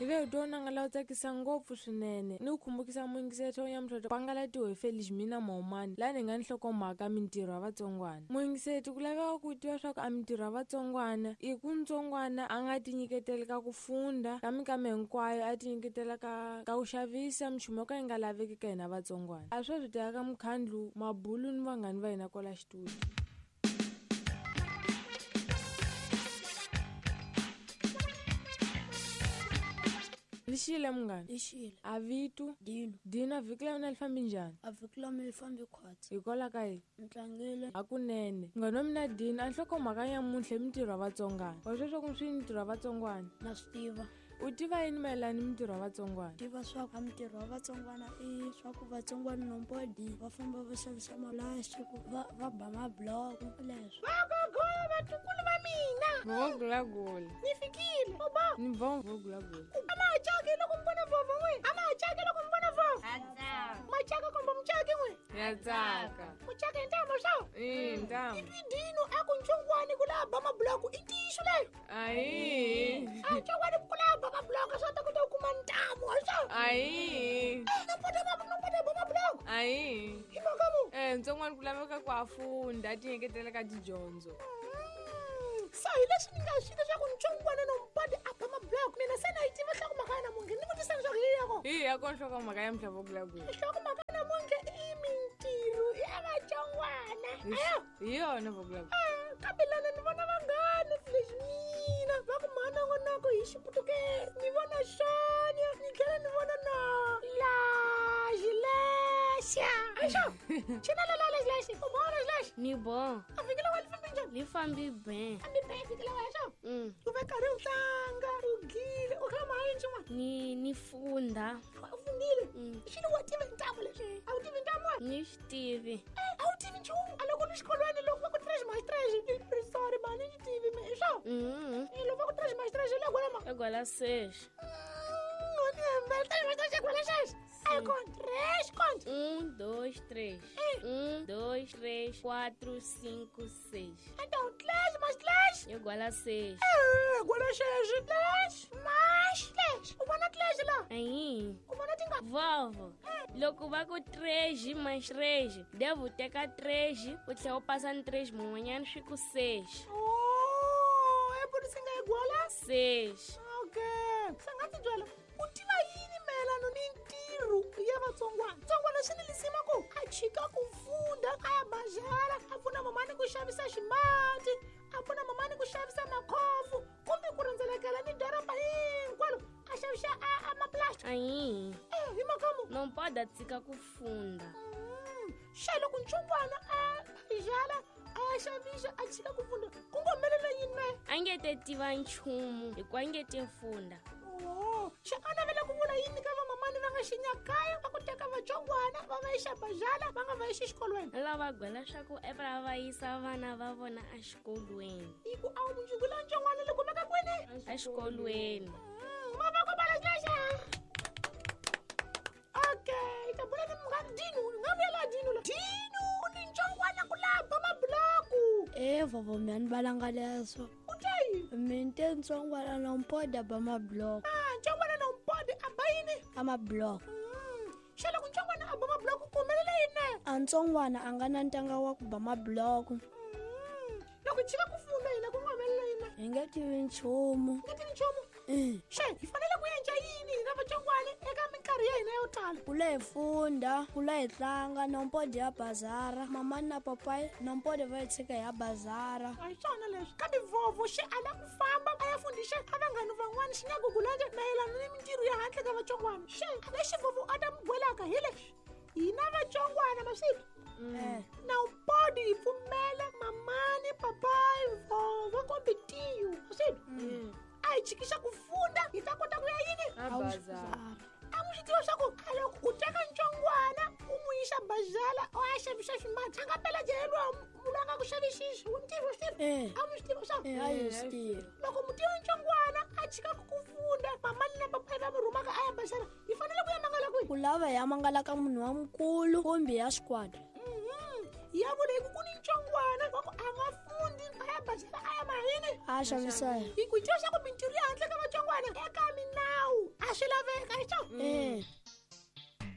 Hi ve hi twa nanga lawu tsakisa ngopfu swinene ni ku khumbukisa muyingiseri nyamutlha pangalatiwe hi Felix Mina Maumani laha ni nga ni nhlokomhaka mintirho ya vatsongwana. Muyingiseri ku laveka ku tiva swa ku a mintirho ya vatsongwana i ku ntsongwana a nga tinyiketeli ka ku funda ka minkama hinkwayo a tinyiketela ka ku xavisa minchumu yo ka yi nga laveki ka hina vatsongwana. A sweswi teka ka mukhandlu mabulu ni vanghani va hina kwala xitudio. Lixile munghana. Lixile. A vito? Dino. Dino, a vhiki la wena li fambi njhani? A vhiki la mina li fambi khwatsi. Hikwalaho ka yini? Ni tlangile. Hakunene. Munghana wa mina Dino, a nhlokomhaka nyamuntlha i mintirho ya vatsongwana. Wa swi tiva swi mintirho ya vatsongwana? Na swi tiva. U tiva yini mayelana ni mintirho ya vatsongwana? Tiva swa ku mintirho ya vatsongwana i swa ku vatsongwana nombodi va famba va xavisa malastiki va ba mabloko leswo. Vagogo vatukulu va mina. Vogulagula. Ni fikile. Oba. Ni bon vogulagula. A ma ha caki loko mi vona vovho n'we. A ma ha caki loko mi vona vovho. Machaka kumbe muchaki n'we. Ya tsaka. Muchaka hi ntambu swa? I ntambu. I dino a ku ntsongwani ku lava ba mabloko i ntiyiso leyo. Ayi. A ntsongwani ku lava ba mabloko swa ta kota ku kuma ntambu swa. Ayi. No pota ba no pota ba mabloko. Ayi. Hi mhaka mu. Ntsongwani ku laveka ku a funda a tinyiketela ka tidyondzo. So hi leswi ni nga swi leswaku ntsongwana no mpoti a ba mabloko mina se na yi tiva nhlokomhaka ya namuntlha ni vutisa leswaku hi ya kona. Hi ya kona nhlokomhaka ya mhla vogulagula. Nhlokomhaka ya namuntlha i mintirho ya vatsongwana. Ayo. Hi yona vogulagula. Kambe lana ni vona vanghani leswi mina va ku mhanongonoko hi xiputukezi ni vona Sonia ni tlhela ni vona na Laxilexa. Axo. Xana la Laxilexa u vona Laxilexa? Ni bon. A vhiki la wa li fambi njhani? Li fambi ben. Fambi ben vhiki la wa xo? U ve karhi u tlanga, u gile, u kha ma yini xin'wana? Ni funda. U fundile? Xilo wa tiva ntambu leswi? A wu tivi ntambu wa? Ni swi tivi. A wu tivi nchumu? A loko ni xikolweni loko va ku trash my trash, ni sorry man, ni tivi me, swo? Loko va ku trash my trash, le gwala ma? Le gwala sex. Ni hembela, trash my trash, gwala sex. Ai, con três, conta. 1, 2, 3. 1, 2, 3, 4, 5, 6. Então, 3 mais 3. Igual a 6. Igual a 6. 3 mais 3. O vona 3 lá. Aí. O vona tinga. Vovó, loko va ku 3 mais 3, devo teka 3, u tlhela u pasa ni 3 mun'wanyana swi ku 6. Oh, é por isso que é igual a 6. Ok. Sanga ti byela. U tiva yini mayelana ni ntirho ya vatsongwana? Ntsongwana swi ni lisima ku a chika ku funda, a ya bazara, a pfuna mamani ku xavisa ximati, a pfuna mamani ku xavisa makhofu, kumbe ku rhendzelekela ni doroba hinkwalo a xavisa a maplastic. Ayi. Hi makamu. Não pode tshika ku funda. Xa loko ntsongwana a bazara a xavisa a tshika ku funda, ku ngo humelela yini na? A nge te tiva nchumu hikuva a nge te funda. Xa a navela ku vula yini ka vamamani va nga xinyakaya va ku teka vatsongwana va va yixa bazala va nga va yixi xikolweni? Lava gwela swa ku va va yisa vana va vona exikolweni. Hi ku a wu mundzuku la ntsongwana li kumeka kwini? Exikolweni. Mavoko ba lexa. Okay, ta bula ni munghana Dino, ni nga vuyela Dino la. Dino ni ntsongwana ku lava mabloku. Vovo mina ni valanga leswo. U te yini? Mina te ntsongwana na mpoda ba mabloko. Ntsongwana na mpodi a ba yini? A mabloko. Xa loko ntsongwana a ba mabloko ku humelela yini na? A ntsongwana a nga na ntanga wa ku ba mabloko. Loko hi tshika ku funda hina ku nga humelela yini na? Hi nge tivi nchumu. Hi nge tivi nchumu? Xe, hi fanele ku endla yini hina vatsongwana eka minkarhi ya hina yo tala? Ku la hi funda, ku la hi tlanga, na mpodi ya bazara. Mamani na papai, na mpodi va hi tshika ya bazara. A hi swona leswi. Kambe vovo xi ala ku famba a ya fundisa a vanghani van'wana xi nga gugulanje mayelana ni mintirho ya handle ka vatsongwana. Xe, lexi vovo a ta mi gwelaka hi leswi. Hina vatsongwana maswitwa. Na mpodi hi pfumela mamani, papai, vovo kumbe tiyo. Maswitwa. A hi tshikisa ku funda hi ta kota ku ya yini? A bazara. A n'wi swi tiva swa ku a loko u teka ntsongwana u n'wi yisa bazala o a xavisa ximati a nga pela jeriwa munhu a nga ku xavisisi u ntirho swi tiva? A n'wi swi tiva swa ku? A yi swi tiva. Loko mutivi ntsongwana a tshika ku funda mamani na papai va n'wi rhumaka a ya bazala hi fanele ku ya mangala kwihi? Ku lava hi ya mangala ka munhu wa mukulu kumbe ya xikwadi. Ya vula hi ku ku ni ntsongwana wa ku a nga fundi a ya bazala a ya mahini. A xavisa. Hi ku tiva swa ku mintirho ya handle ka vatsongwana eka